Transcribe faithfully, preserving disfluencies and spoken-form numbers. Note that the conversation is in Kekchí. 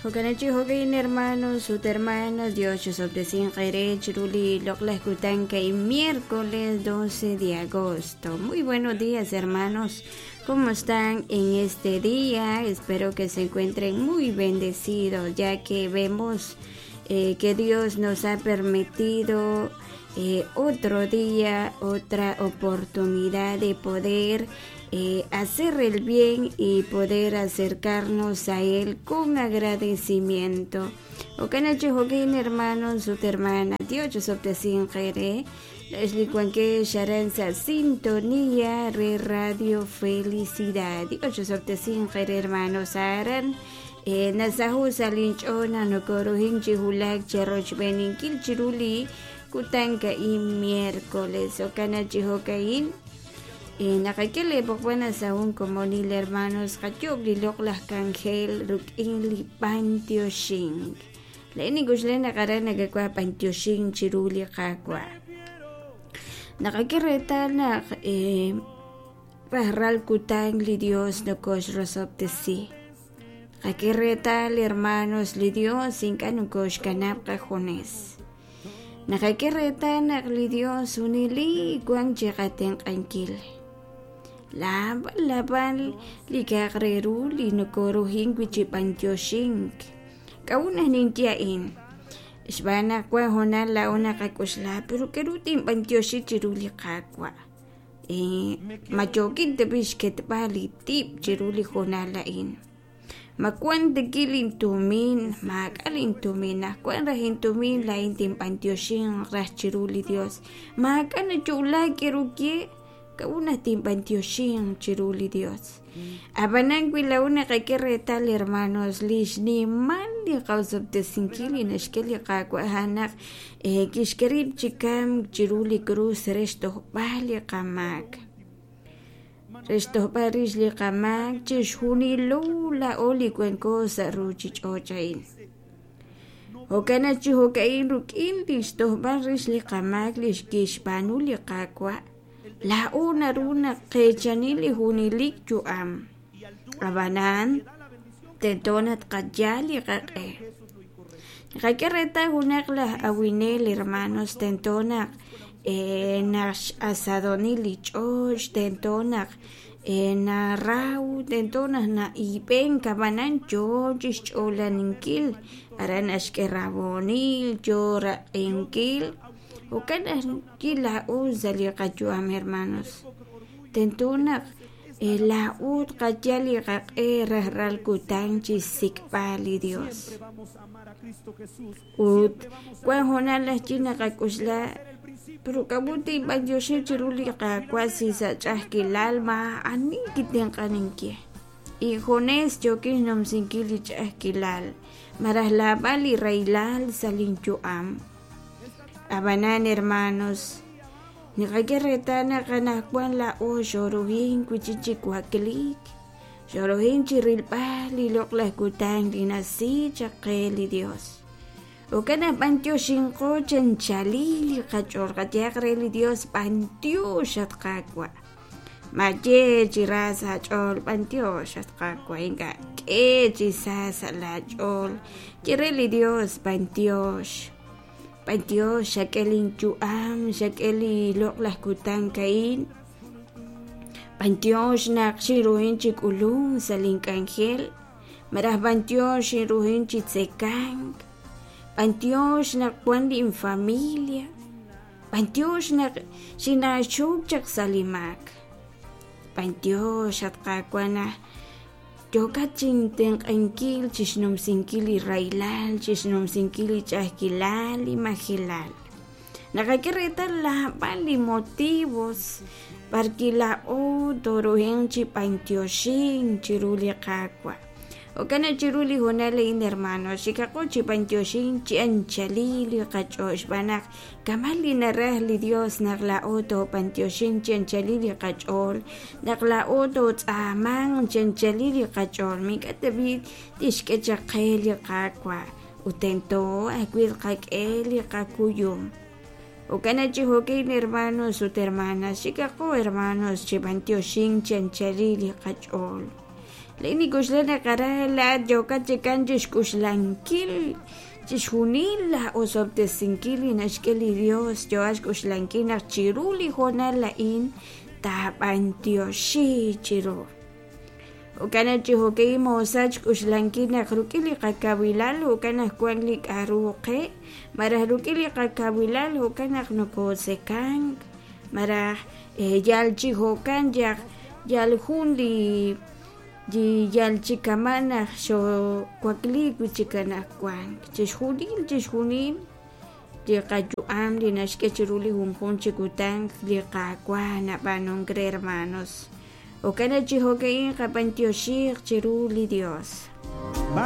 Jokanachi jokin hermanos, ut hermanas, Dios chosobtesin qere chiruli loqlaj kutanka y miércoles doce de agosto. Muy buenos días, hermanos. ¿Cómo están en este día? Espero que se encuentren muy bendecidos, ya que vemos eh, que Dios nos ha permitido eh, otro día, otra oportunidad de poder eh, hacer el bien y poder acercarnos a Él con agradecimiento. Okanachi jokin hermanos, ut hermana, Dios chosobtesin qere, Leslie Sharanza, Sintonía re Radio Felicidad. Dios chosobtesin qere hermanos, aran. Eh, nasahu salinchona nokorohin chihulak cherrochbeninkil chiruli kutanka y miércoles. Okanachi jokain. Nakakele pokwana sa un komonil hermanos kachob lilok lah kanjel rukin li pantioshing. Leini gusle nakara nagakwa pantioshing chiruli kakwa. Nakakiretal na eh, rahral kutang li Dios no kosh rosoptesi. Kakiretal hermanos li Dios inka no kosh kanap kajones. Nakakiretal nak li Dios unili guang chikaten kankil. Laban laban li kakreru li nokorohin wichipantioshink. Kauna nintiain. Isbana kwa honal la ona kakusla pero kerutin pantioshi chiruli kakwa. Eh, machokin tebish ketbali tip chiruli honalain. Makuan de kilin tumin, makalin tumin, akuan rahin tumin la intim pantioshin ras chiruli Dios. Makana chula kerukie. Kauna timpantioshing chiruli Dios. Abanang wilauna kakiretal hermanos lish ni man li qawsabtesinkili nashkeli qakwahanak eh kishkerib chikam chiruli cruz resto bali qamak. Resto barish li qamak chishhuni lula oli cuencosa ruchich ochain. Hokana chihokain rukin listo barish li qamak lish kishpanuli qakwa. La una runa qechanili hunilik yuam. Abanan tentonat qayali qaqe. Qakereta hunak la awinel hermanos tentonak eh nash asadonili choch tentonak eh narau tentonak na ipen kabanan choch cholaninkil aran ashkerabonil chora enkil. Okana kila uza li qachuam hermanos. Tentuna la ut qachali qaqe rahral kutanchi sikpali Dios. Ut kwan honal china qakusla pero kabuti bandioshi chiruli qakwasi sa ch'ajkilal ma ani kitenqaninki. Y jones chokin nomsinkili ch'ajkilal marahlabali railal salinchuam. Abanan hermanos, nikakiretana kanakwan la o shorohin kuchichikuaklik, shorohin chirilpali loqlahkutang linasi chaqeli Dios. Okana pantio shinko chanchalili qachorqatiaqreli Dios pantio xatqakwa. Maye chirasa chol pantio xatqakwa inka ke chisasa la chol chireli Dios pantiox. Pantio xakelin chuam xakeli loqlaj kutan kain. Pantio xnaq xiruhin chikulun salin kanjel. Maraj pantio xiruhin chitzekank. Pantio xnaq kuan lin familia. Pantio xnaq xinaxuk chaq salimak. Pantio xatqakuana yokachin tenqankil chixnomsinkili railal chixnomsinkili ch'ajkilal y majilal. Nakakiretal labali motivos parki la o torohen chipantioxin chiruli qakwa. Okana chiruli honale in hermano xikaqo chipantioxin chianchalili qach'ox banaq kamali naraj li Dios naq la oto pantioxin chianchalili qach'ol naq la oto tz'aman chianchalili qach'ol mink'atabi tixk'echaqeli qakwa utento ajwil qak'eli qakuyum. Okana chihokin hermanos ut hermanas xikaqo hermanos chipantioxin chianchalili qach'ol. Laa'in nink'oxla naq aran laa'at yookat chikan chixk'uxlankil chixjunil laa osob'tesinkil li naxk'e li Dios, yookat xk'uxlankil naq chiru li hoonal a'in taab'antioxi chiru. Jo'kan chi jo'ka'in moosach xk'uxlankil naq rik'in li qakawilal jo'kan naq wank li k'a'ru qe, malaj rik'in li qakawilal jo'kan naq nokotzekank, malaj yal chi jo'kan yaq yal jun li yal chi kama' naq xoowakliik wi' chik anaqwan. Chixjunil chixjunil li qayu'am li naxk'e chiru li junjunq chi kutan li Qaawa' nab'aanunk re, hermanos. Jo'kan chi jo'ka'in qab'antioxiq chiru li Dios.